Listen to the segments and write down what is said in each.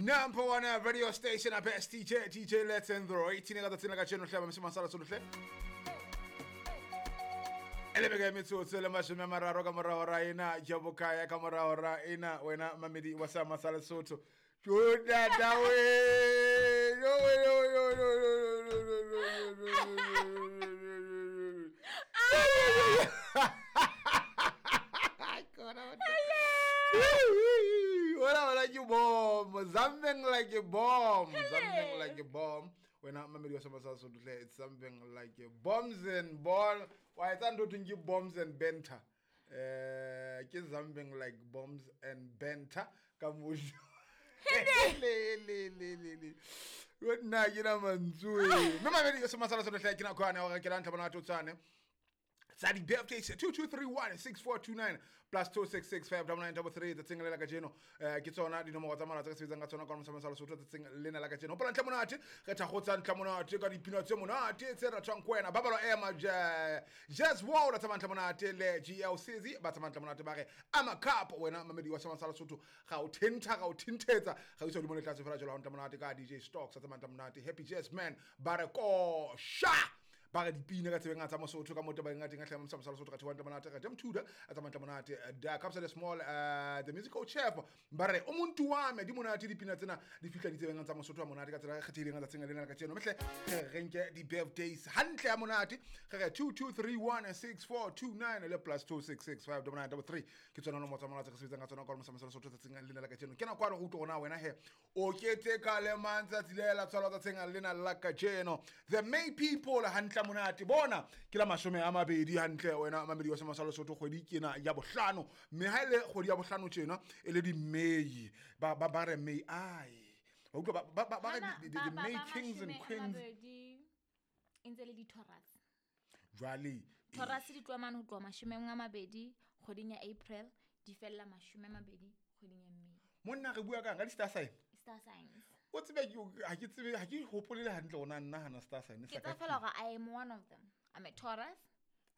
Number one radio station, a best DJ, DJ Letendro. 18 ka tsatsing la kajeno hle ba masala solohle. E le beke metsotso le 30 ka morao ra ena ja bokaya ka morao ra ena wena mamedi wa sa masala Sotho. Juda dawe. Yo yo yo yo yo yo yo yo. Wena like a bomb, something like a bomb, something like a bomb. Wena mamedi wa sa masala Sotho, it's something like a bombs and ball. Wa etsa ntho thweng ke bombs and banter. Ke something like bombs and banter ka mosho. Le le le le le. Yo nna ke na mantswe. Mme mamedi wa sa masala Sotho hle, ke nako yane ya hore ke la ntlha bona totsane. Tsa di-birthdays 2231 6429 plus 266 59933 tsatsing le la kajeno. Ke tsona dinomoro tsa mola tse re sebetsang ka tsona ka mosama sa Lesotho tsatsing lena la kajeno. Hopola ntle monate, re thakgotsa ntle monate ka dipina tse monate tse ratwang ko wena. Ba balwa ema Jazz World tsa ntle monate le GLCZ ba tsa ntle monate ba re ama cup. Wena mamedi wa sama sa Lesotho, ga o thentha, ga o thinthetsa, ga o isa godimo le tlatse fela jalo ntle monate ka DJ Stocks tsa ntle monate. Happy Jazz Man ba re ko sha ba re dipina ka tsebeng tsa Mosotho ka moto ba ngateng a tlhama mosama sa Lesotho ka thiwa ntle monate ka Jam Tudor a tsa ntle monate da Capsa the Small, the musical chef ba re o muntu wa me di monate dipina tsena di fihla di tsebeng tsa Mosotho a monate ka tsela e kgethehileng tsatsing lena la kajeno. Mehle re nke di birthdays hantle ya monate, re re 2231 6429 le plus 266 59933 ke tsona nomoro tsa mola tse re sebetsang ka tsona ka mosama sa Lesotho tsatsing lena la kajeno. Ke nako ya re utlwe rona wena he o keteka le mang tsatsi le la tswalo tsatsing lena la kajeno. The May people hantle monate bona ke la 20 hantle wena mamedi wa sama sa Lesotho. Kgwedi ke ena ya bohlano, mme ha ile kgwedi ya bohlano tjena e le di May ba re May ai ba utlwa ba re the May kings and queens. E ntse le di-Taurus. Jwale Taurus di tloha mane ho tloha 20 kgweding ya April, di fella 20 kgweding ya May. Monna re bua kang ka di-star sign? Star signs. O tsebe ha ke tsebe, ha ke hopole le hantle hore na nna hana star sign Ke tsa fela hore I am one of them. I'm a Taurus.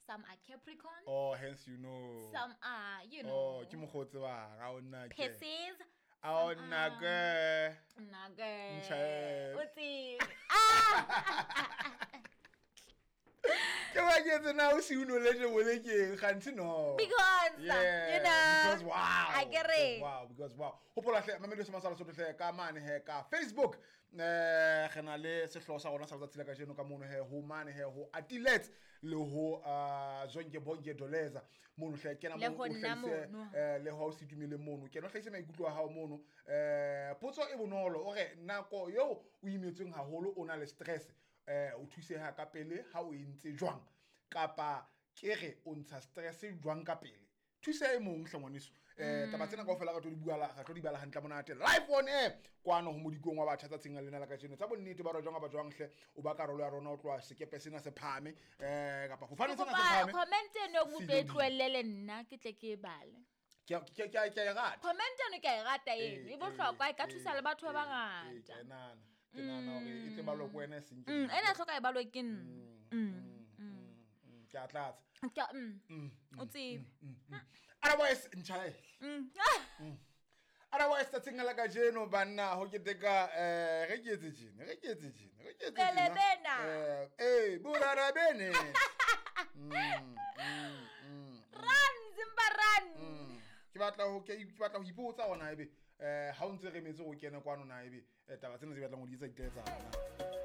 Some are Capricorn. Oh, hence you know. Some are, you know. Oh, ke mokgwa o tsebang, ha o nna ke. Pisces. Ha o nna ke. Nna ke. Ntjhe. O tsebe. Ah! Ke ba ke etse na o se o knowledge bolekeng, kganthe no. Because, Yeah, you know, because wow. I get it. Because wow, because wow. Hopola hle, mamedi wa sa Lesotho hle, ka mane he, ka Facebook. Re na le sehlooho sa rona sa letsatsi la kajeno ka mono he, ho mane he, ho Atilet le ho Zonke Bonke Doleza. Mono hle, kena Le mono, ho o nna hlahise, mono. Le ho o situmile mono. Kena o hlahise maikutlo a hao mono. Potso e bonolo, o re nako eo o imetsweng haholo o na le stress, o thuseha ka pele ha o entse jwang, kapa ke re o ntsha stress jwang ka pele. Thusa e mong hle ngwaneso. Taba tsena kaofela re tlo di bua la, re tlo di bala hantle monate live on air kwano ho modikong wa batjha tsatsing lena la kajeno. Tsa bonnete ba re jwang ba jwang hle, o ba karolo ya rona o tloha sekepe sena se phahame, kapa fofane sena se Kopa phahame. Comment eno o Se tlo e dule. tlohelle le nna ke tle ke e bale. Ke a e rata. Comment eno ke a e rata eno. E bohlokwa, e ka thusa le batho ba bangata. Ke nahana. Ke nahana hore e tle balwe ke wena e seng ke nna. Ena hloka e balwe ke nna. Ke a tlatsa. Ke o tsebe. Otherwise, ntjhae. Otherwise, tsatsing la kajeno banna ho keteka, re ke etse tjena, re ke etse tjena, re ke etse tjena. Pele bena. Borara bene. Run, Zimba, run. Ke batla ho ipotsa hona ebe, ha o ntse re emetse ho kena kwano na ebe, taba tsena tse batlang ho di etsa di tla etsahala.